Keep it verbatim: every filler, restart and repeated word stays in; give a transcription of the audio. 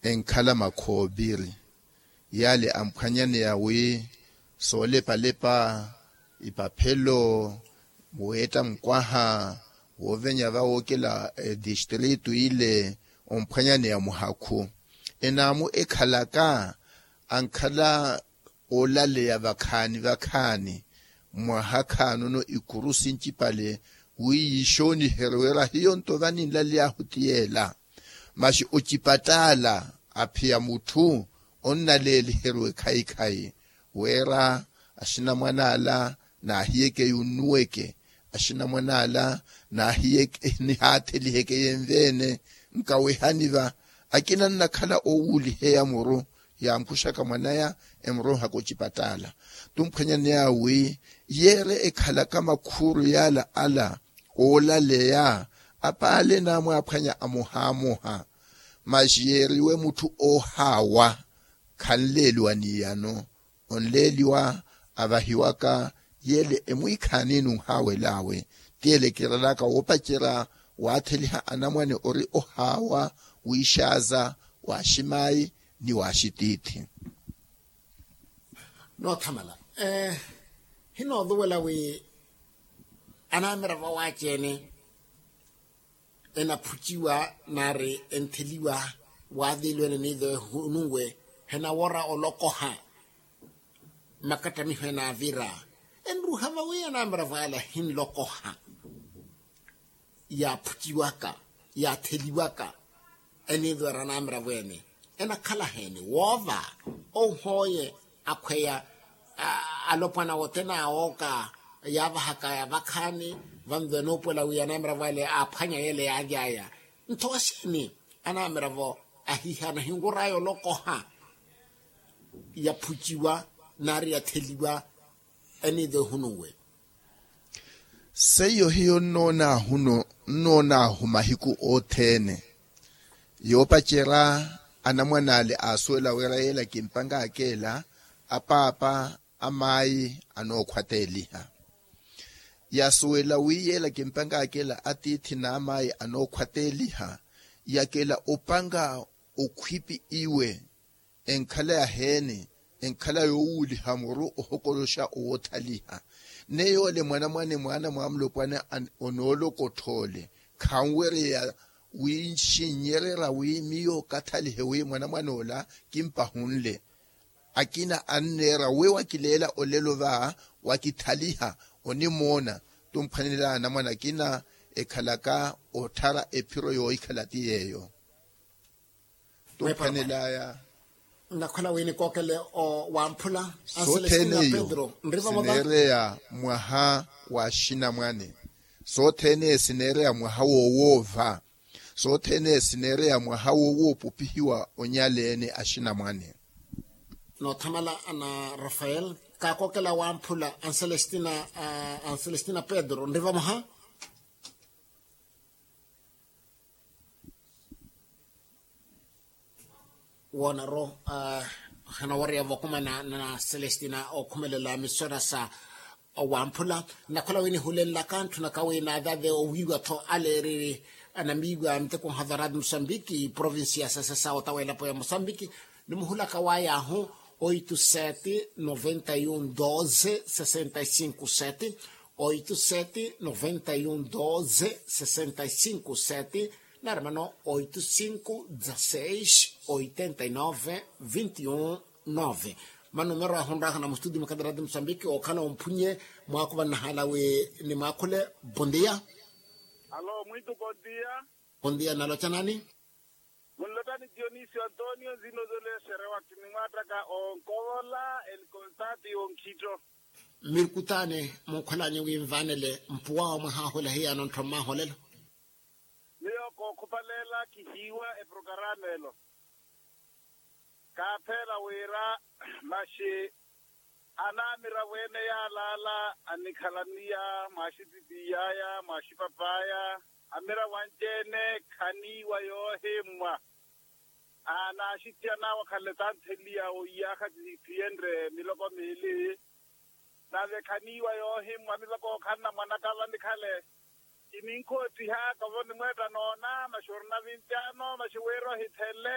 enkhala makhoopiri. Yale amphwanyaneya wi soolepalepa ipaphelo, weetta mukwaha woovenya vawookela distritu ile omphwanyaneya muhakhu. Enaamu ekhalaka ankhala oolaleya vakhaani vakhaani mwaha khaanono ikuru sincipale wi yiixooniherye wira hiyo nto vaninlaley'ahu ti yeela. Masi ocipattaala aphiya mutthu onnaleeliheryiwe khayi-khayi wira axinamwan'ala naahiyeke yunnuweke, axinamwan'ala naahiyeke nihaatheliheke yenve-ene nkawehani va. Akina nnakhala owuuliheya muru yaampuxaka mwan'aya emurunhaka ocipattaala. Tumphwanyaneya wi yeere ekhalaka makhuuru yaala ala oolaleya apaale naamwaaphwanya amoha-amoha. Masi yeeriwe mutthu oohaawa khanleeliwa n'iyano. Onleeliwa avahiwaka yeele emwiikhaani nunhaawel'awe. Ti yeele kirelaka woopacerya waatheliha anamwane ori ohaawa wiixaaza waaximayi ni waaxitiithi. Noothamala. Hinooluwela wi anamiravo awaaci-ene enaphuciwa nari entheliwa waaviiliwene niizo ehununwe henawora olokoha. Makattamiho enaavira enruha vawi anamiravo ala hinlokoha yaaphuciwaka yaatheliwaka eniizo era anamiravo ene enakhala heeni woova? Ohooye akhweya alopwana wothene awooka yaavahakaya vakhaani vanzo enoopuwela wi anamiravo ale aaphwanya yele yaaly'aya. Nto oxeeni anamiravo ahiihana hinwur'aya olokoha yaphuciwa nari yatheliwa eniizo ehununwe? Seiyo hiyo nnoonaahu mahiku othene yoopacerya anamwan'ale aasuwela wira yeela kimpanka akeela apaapa amaayi anookhwateeliha. Yasuwela wi yeela kimpanka akeela atiithi n'amaayi anookhwateeliha yakeela opanka okhwipi iwe enkhala yaheeni enkhala yoowuuliha muru ohokoloxa owoothaliha. Neyo ole mwanamwane mwaana mwa mulopwana onoolokottha ole khanwereya winxinyererya wi miyo kathalihe wi mwanamwane ola kimpahunle. Akina anneera wi wakileela olelo va wakithaliha onimoona. Tumphwanelaya anamwane akina ekhalaka otthara ephiro yoohikhala ti yeeyo. Tumphwanelaya. Nnakhola wi nikookele o wamphula anselestina pedro nriva mova sineereya mwaha wa axinamwane. Sothene sineereya mwaha wowoova. Sothene sineereya mwaha wowoopupihiwa onyaleene axinamwane. Noothamala ana rafael kaakookela wamphula anselestina anselestina pedro nriva mwaha. Woonaro hanawarya vakumana na celestina okhumelela misora sa wamphula. Nakhola wi nihulenlaka ntthunaka wi naathathe owiiwa-tho aleereri anamiiwa miteko nhavarati musambiki provincia sasasa otawelapo ya musambiki. Nimuhulaka wayahu oito sete noventa e um doze sessenta e cinco sete. Oito sete noventa e um doze sessenta e cinco sete. Nari mano oito cinco dezasseis oitenta e nove vinte e um nove. Manumero ahunraka na mustudi mukhadarati musambiki okhala omphunye mwakuva nnahala wi nimwakhule. Bondia. Alo mwitu bondia. Bondia nalocha nani? Munlotani dionisio antonio nzino zolesere wakini mwataka onkovola elikonsati onkhitto. Mmirkutane munkholanye wi nvanele mpuwa omwe haahula hiyano nttho mmaholelo. Miyo kookhupalela kihiiwa eprokarama elo. Kaapheela wira maxi anamiravo ene yaalaala anikhalaniya mwaxititiyaya mwaxipapaya amiravo anci-ene khaniiwa yoohimmwa. Anaaxittiyan'awe akhale tantheliya oiyaakha tiyenre miloko miili. Nave khaniiwa yoohimmwa miloko okhanna mwanaka vanikhale. Kininkhoottihaaka vo nimweetta noona maxi orina vinti ano maxi wira ohithele.